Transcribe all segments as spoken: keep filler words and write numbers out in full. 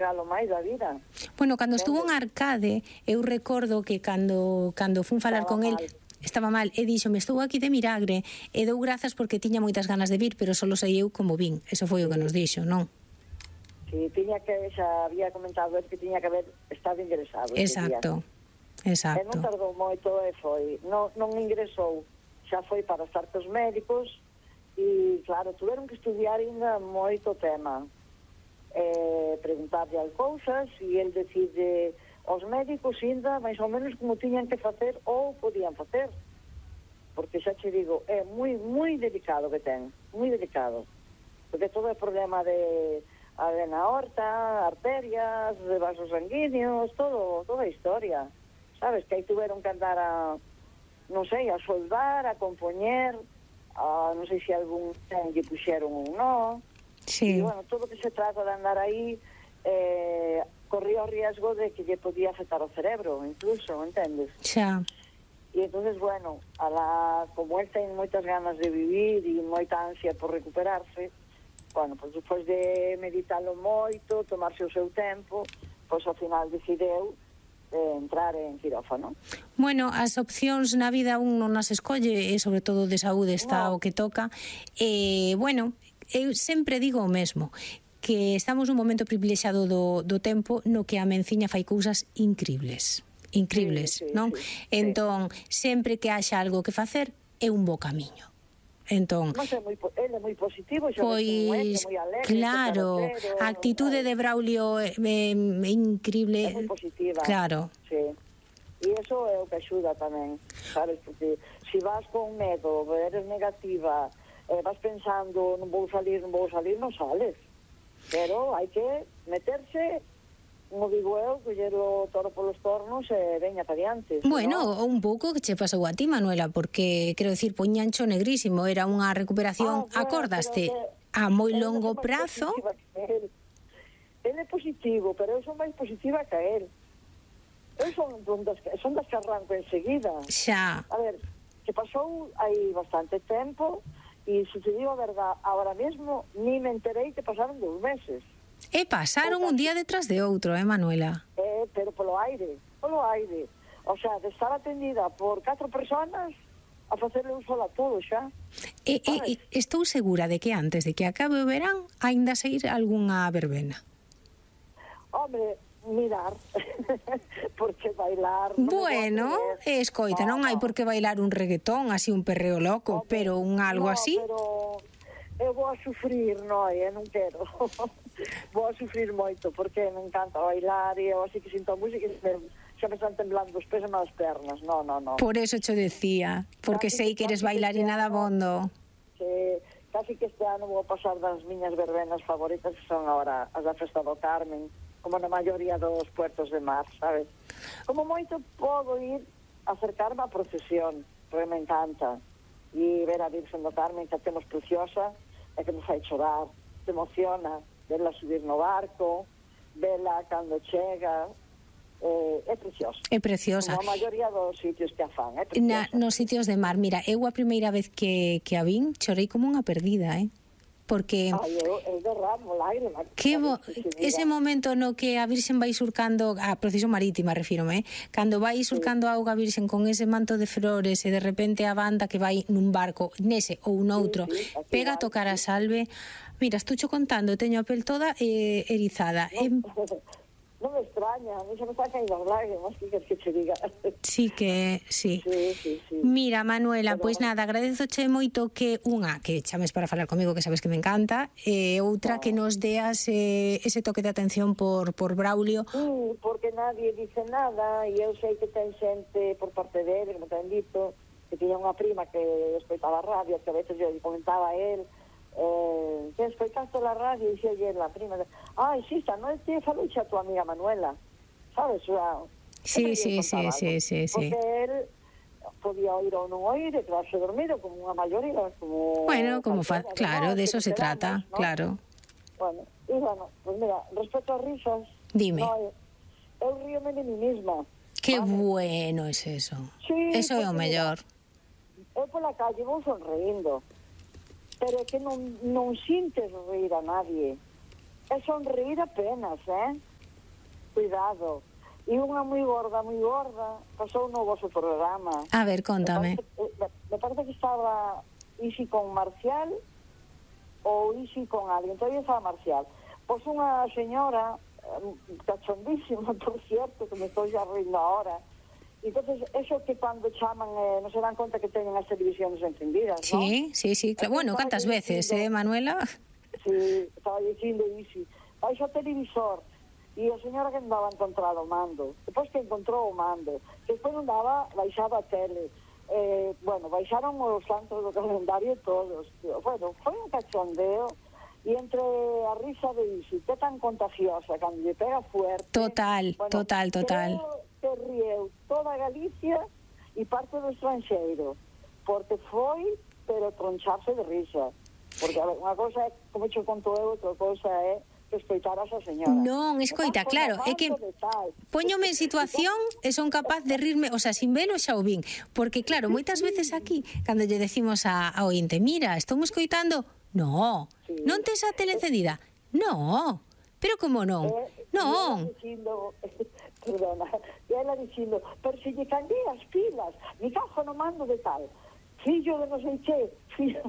galo máis da vida. Bueno, cando estuvo en Arcade, eu recordo que cando cando fun falar con el, estaba mal, e dixo, me estou aquí de milagre, e dou grazas porque tiña moitas ganas de vir, pero solo sei eu como vin. Eso foi o que nos dixo, non? Si, tiña que, xa había comentado el que tiña que haber estado ingresado. Exacto, exacto. E non tardou moito e foi, non, non ingresou, xa foi para estar cos médicos, e claro, tuveron que estudiar ainda moito tema. Eh, preguntarle as cousas e el decide aos médicos ainda máis ou menos como tiñan que facer ou podían facer, porque xa che digo, é moi moi delicado que ten, moi delicado, porque todo é problema de a vena aorta, arterias, de vasos sanguíneos, todo, toda a historia, sabes, que aí tuveron que andar a, non sei, a soldar, a compoñer, a, non sei se algún ten lle puxeron ou non. Sí. E, bueno, todo que se trata de andar aí eh, corría o riesgo de que lle podía afectar o cerebro, incluso, entendes? Xa. E entonces, bueno, a la, como él ten moitas ganas de vivir e moita ansia por recuperarse, bueno, pois despois de meditarlo moito, tomarse o seu tempo, pois ao final decideu eh, entrar en quirófano. Bueno, as opcións na vida un non as escolle, e sobre todo de saúde está no. o que toca. E, bueno, eu sempre digo o mesmo, que estamos nun momento privilexiado do, do tempo no que a menciña fai cousas incribles, incribles, sí, sí, non? Sí, entón, sí. sempre que haxa algo que facer, é un bo camiño. Entón, no sé, moi, ele é moi positivo, pois, moi alegre, claro, a actitude de Braulio é, é, é incrible. É moi positiva. Claro. Sí. E iso é o que axuda tamén, sabes? Porque se vas con medo, eres negativa, eh, vas pensando, non vou salir, non vou salir, non sales. Pero hai que meterse, como digo eu, coller o toro polos tornos e veña para diante. Bueno, ¿no? un pouco que che pasou a ti, Manuela, porque, quero dicir, poñancho negrísimo, era unha recuperación, ah, bueno, acordaste, que, a moi longo prazo. Él. él é positivo, pero eu son máis positiva que él. Eu son, das, son das que arranco enseguida. Xa. A ver, que pasou aí bastante tempo, e se te digo a verdad, ahora mesmo ni me enterei que pasaron dous meses. E pasaron un día detrás de outro, eh, Manuela? Eh, pero polo aire, polo aire. O sea, de estar atendida por catro personas a facerle un solo a todo xa. E, e, e estou segura de que antes de que acabe o verán aínda sair algunha verbena. Hombre, mirar, porque bailar... Bueno, escoita, non hai por que bailar un reggaetón, así un perreo loco, no, pero un algo no, así... pero eu vou a sufrir, non, eu non quero. Vou a sufrir moito, porque me encanta bailar, e eu así que sinto a música e xa me están temblando os pés e as pernas, non, non, non. Por eso cho decía, porque sei que eres bailarina da bondo. Que casi que este ano vou pasar das miñas verbenas favoritas, que son agora as da Festa do Carmen, como na maioría dos puertos de mar, sabes? Como moito podo ir a acercarme á procesión, porque me encanta, e ver a Virgen do Carmen, que a temos preciosa, e que me fai chorar, te emociona, verla subir no barco, verla cando chega, eh, é preciosa. É preciosa. Como a maioría dos sitios que a fan, é preciosa. Na, nos sitios de mar, mira, eu a primeira vez que, que a vin, chorei como unha perdida, eh? Porque Ay, eu, eu derramo lágrima, que bo, ese momento no que a Virxen vai surcando a procesión marítima, refírome, eh? Cando vai surcando a auga a Virxen con ese manto de flores e de repente a banda que vai nun barco nese ou noutro, sí, sí, pega a tocar a salve. Mira, estucho contando, teño a pel toda eh, erizada. No, eh, non me extraña, a mí se me está caindo as lágrimas, que queres que che diga? Sí que, sí. Sí, sí, sí. Mira, Manuela, pois pues nada, agradezoche moito que unha, que chames para falar comigo, que sabes que me encanta, e outra, no. que nos deas eh, ese toque de atención por, por Braulio. Sí, porque nadie dice nada, e eu sei que ten xente por parte dele, que me ten dito, que tiña unha prima que escoitaba a radio, que a veces eu comentaba a él, eh, que escoitaste la radio, e xe la prima, ai, sí, esta noite falou xa a tua amiga Manuela, sabes? O sea, sí, sí, sí, sí, sí, sí. Porque él podía oír ou non oír e quedarse dormido como unha maioría, como... Bueno, como fa... claro, de eso se trata, ¿no? Claro. Bueno, y bueno, pues mira, respecto a risas... Dime. No, eu ríome de mí misma. Qué ¿vale? Bueno es eso. Sí, eso é o mellor. Eu pola calle vou sonreindo, pero é que non, non sintes rir a nadie. É sonreír apenas, eh? cuidado. E unha moi gorda, moi gorda, pasou no vosso programa. A ver, contame. Me parece, me parece que estaba Isi con Marcial ou Isi con alguén, todavía estaba Marcial. Pois unha señora, cachondísima, por cierto, que me estou xa rindo ahora. Entonces, eso que cando chaman, eh, non se dan conta que teñen as televisións encendidas, ¿no? Sí, sí, sí, claro. Bueno, cantas veces, eh, Manuela? Sí, estaba dicindo Isi, baixo o televisor, e a señora que andaba encontrar o mando, depois que encontrou o mando, que despois non daba, baixaba a tele, eh, bueno, baixaron os santos do calendario todos, bueno, foi un cachondeo, e entre a risa de Isi, que tan contagiosa, cando lle pega fuerte... Total, bueno, total, total. Creo que rieu toda Galicia e parte do estranxeiro, porque foi, pero troncharse de risa, porque, a ver, unha cosa é, como che conto eu, outra cosa é que escoitaras a señora. Non, escoita, claro, é que poñome en situación e son capaz de rirme, o sea, sin velo xa o vin, porque claro, moitas veces aquí, cando lle decimos a, a ointe, mira, estou me escoitando, no, sí. Non tes a tele encendida, no, pero como non, eh, non. Dicindo, perdona, e ela dicindo, pero se lle cambiei as pilas, mi cajo no mando de tal, fillo de non sei che, fillo,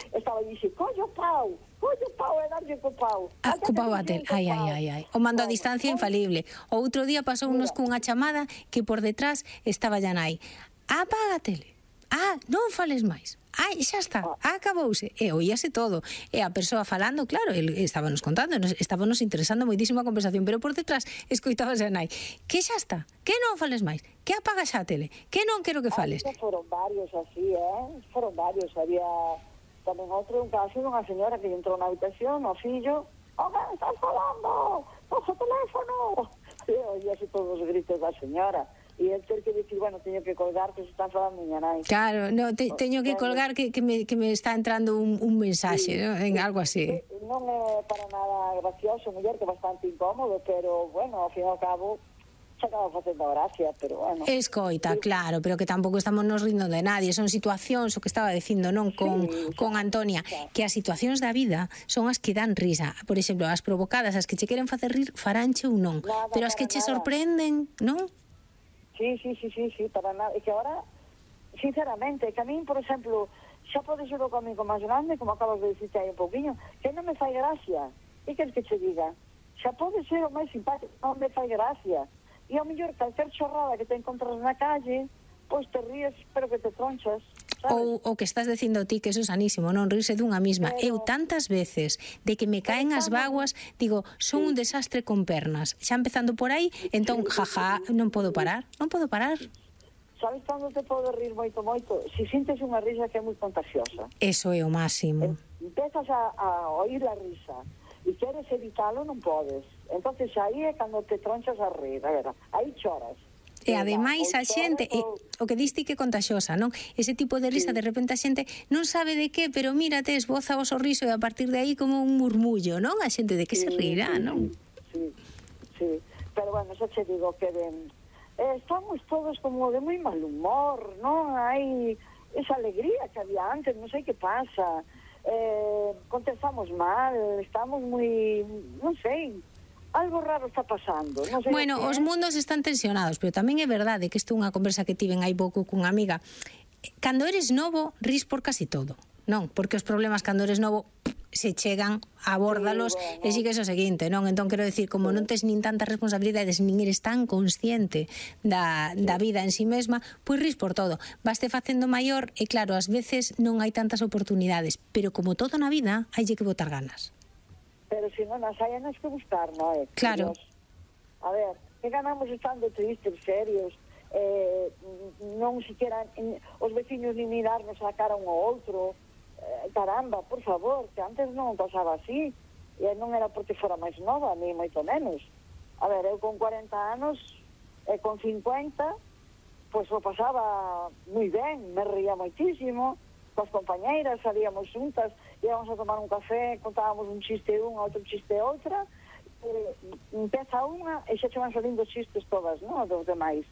estaba dicindo, collo pau, collo pau, e darlle co pau. Ah, co pau a tel, ai, ai, ai, ai. O mando a distancia infalible. O outro día pasou unos cunha chamada que por detrás estaba ya nai. Apaga a tele. Ah, non fales máis. Ai, xa está, acabouse. E oíase todo. E a persoa falando, claro, el estábanos contando, estábanos interesando moitísimo a conversación, pero por detrás escoitabase a nai. Que xa está, que non fales máis, que apagas a tele, que non quero que fales. Ah, foron varios así, eh? Foron varios, había tamén outro, un caso dunha señora que entrou na habitación, o fillo, oh, que estás falando? Cojo o teléfono. E oíase todos os gritos da señora. E el ter que dicir, bueno, teño que colgar que se están falando miña nai. Claro, no, te, teño que colgar que, que, me, que me está entrando un, un mensaxe, sí, ¿no? En algo así. Non é para nada gracioso, muller, que é bastante incómodo, pero, bueno, ao fin e ao cabo, se acaba facendo gracia, pero, bueno. Escoita, sí. Claro, pero que tampouco estamos nos rindo de nadie, son situacións, o que estaba dicindo, non, con, sí, con Antonia, claro, que as situacións da vida son as que dan risa. Por exemplo, as provocadas, as que che queren facer rir, faranche ou non, nada, pero as que che nada. Sorprenden, non? Sí, sí, sí, sí, sí, para nada. E que ahora, sinceramente, que a mí, por exemplo, xa pode ser o comigo máis grande, como acabas de dicirte aí un pouquinho, que non me fai gracia. E que es que che diga? Xa pode ser o máis simpático, non me fai gracia. E ao mellor, calquer chorrada que te encontras na calle, pois te ríes, pero que te tronchas. Ou o que estás dicindo ti, que eso é sanísimo, non rirse dunha misma. Pero... Eu tantas veces de que me caen as vaguas, digo, son sí. Un desastre con pernas. Xa empezando por aí, entón, jaja, non podo parar, non podo parar. Sabes cando te pode rir moito, moito? Si sintes unha risa que é moi contagiosa. Eso é o máximo. Empezas a, a oír a risa e queres evitalo, non podes. Entonces aí é cando te tronchas a rir, a ver, aí choras. E ademais a xente, e, o que diste que contagiosa, non? Ese tipo de risa, sí. De repente a xente non sabe de que, pero mírate, esboza o sorriso e a partir de aí como un murmullo, non? A xente de que sí, se rirá, sí, non? Sí, sí, pero bueno, xa che digo que ben, eh, estamos todos como de moi mal humor, non? Hai esa alegría que había antes, non sei que pasa, eh, contestamos mal, estamos moi, non sei, algo raro está pasando. Non sei bueno, os mundos están tensionados, pero tamén é verdade que isto é unha conversa que tiven hai pouco cunha amiga. Cando eres novo, ris por casi todo, non? Porque os problemas cando eres novo se chegan, abórdalos, sí, bueno. E sigues o seguinte, non? Entón, quero decir, como sí. Non tes nin tantas responsabilidades, nin eres tan consciente da, sí. Da vida en sí mesma, pois ris por todo. Vaste facendo maior e, claro, ás veces non hai tantas oportunidades, pero como todo na vida, haille que botar ganas. Pero se non as hai, non que buscar, non é? Claro. Dios. A ver, que ganamos estando tristes, serios, eh, non siquiera en, os veciños ni mirarnos a cara un ao outro, eh, caramba, por favor, que antes non pasaba así, e non era porque fora máis nova, ni moito menos. A ver, eu con cuarenta anos, e con cincuenta, pois o pasaba moi ben, me ría moitísimo, coas compañeiras, salíamos juntas, íamos a tomar un café, contábamos un chiste unha, outro chiste outra, eh, empeza unha e xa che van salindo chistes todas, non? Dos demais.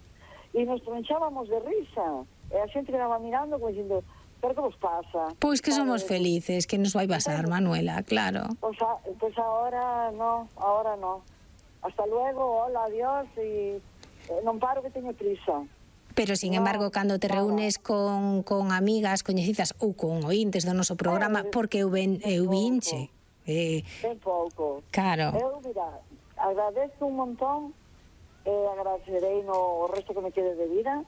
E nos tronchábamos de risa, e a xente quedaba mirando como dicindo, pero que vos pasa? Pois que somos vale, felices, que nos vai pasar, Manuela, claro. Pois, a, pois ahora no, ahora no. hasta luego, hola, adiós, e eh, non paro que teño prisa. Pero, sin No, embargo, cando te nada. reúnes con, con amigas coñecidas ou con ointes do noso programa, Eh, porque eu, ben, eu vinche. Eh, Ben pouco. claro. Eu, mira, agradezo un montón e agradecerei no resto que me quede de vida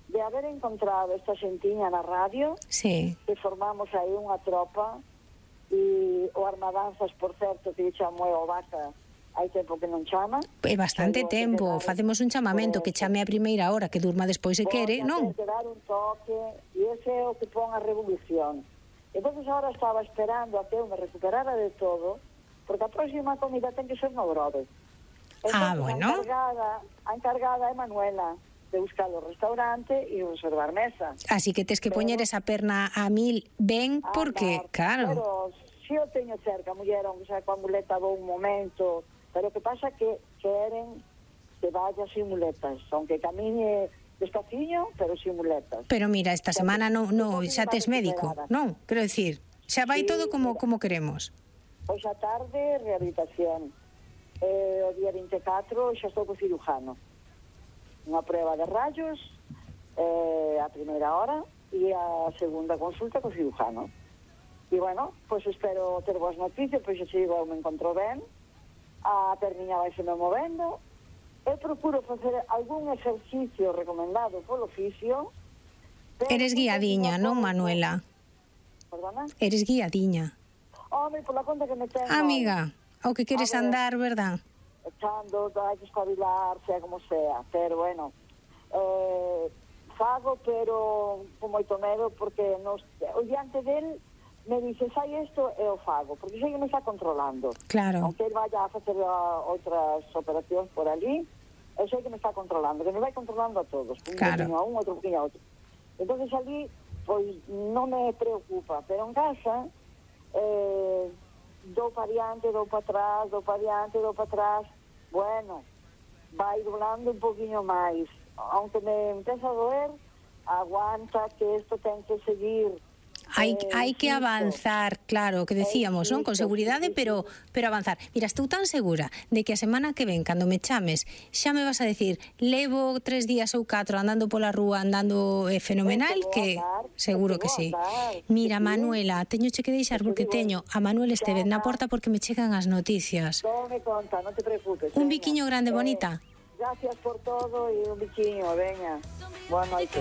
de haber encontrado esta xentiña na radio, Sí. que formamos aí unha tropa, e o Armadanzas, por certo, que chamo o Vaca, hai tempo que non chama. É bastante Pero tempo, que dar- facemos un chamamento que chame a primeira hora, que durma despois se quere, non? Voy a ter que dar un toque, e ese é o que pon a revolución. Entonces ahora estaba esperando a que eu me recuperara de todo, porque a próxima comida ten que ser no Grove. Ah, Entonces, bueno. A encargada, a encargada é Manuela, de buscar o restaurante e reservar mesa. Así que tes que poñer esa perna a mil ben, porque, Andar. claro, Pero si eu teño cerca, muller, aunque sea coa muleta do un momento, pero que pasa que queren que vaya sin muletas, aunque camine despaciño, pero sin muletas. pero mira, esta semana non, no, xa tes médico, non? Quero dicir, xa vai Sí, todo como mira. como queremos. Hoxe a tarde, rehabilitación. Eh, o día vinte e catro xa estou co cirujano. Unha prueba de rayos eh, a primeira hora e a segunda consulta co cirujano. E bueno, pois espero ter boas noticias, pois xa digo, eu me encontro ben, a perniña vai se me movendo, eu procuro facer algún exercicio recomendado polo oficio. pero Eres guiadiña, non, pouco- Manuela? Perdona? Eres guiadiña. Home, pola conta que me ten... Amiga, o que queres A ver. andar, verdad? echando, hai que espabilar, sea como sea, pero bueno, eh, fago, pero con moito medo, porque nos, o diante del me dice, sai isto e o fago, porque sei que me está controlando. Claro. Aunque ele vaya a facer a, outras operacións por allí, eu sei que me está controlando, que me vai controlando a todos, un Claro. poquinho a un, outro poquinho a outro. Entonces allí, pois, non me preocupa, pero en casa, eh, dou para diante, dou para atrás, dou para diante, dou para atrás, bueno, vai doblando un poquinho máis. Aunque me empeza a doer, aguanta que isto ten que seguir. Hai, Eh, hai que insisto. avanzar, claro, que decíamos, non? Con insisto, seguridade, sí, sí, pero pero avanzar. Mira, estou tan segura de que a semana que ven, cando me chames, xa me vas a decir, levo tres días ou catro andando pola rúa, andando eh, fenomenal, É que que vou andar, seguro é que que vou sí. andar, Mira, que sí. Manuela, teñoche que deixar É que porque digo, teño a Manuel Estevez na ya. porta porque me chegan as noticias. Tome conta, non te preocupes. Un veña. biquiño grande, Eh, bonita. Gracias por todo e un biquiño, veña. Boa noite.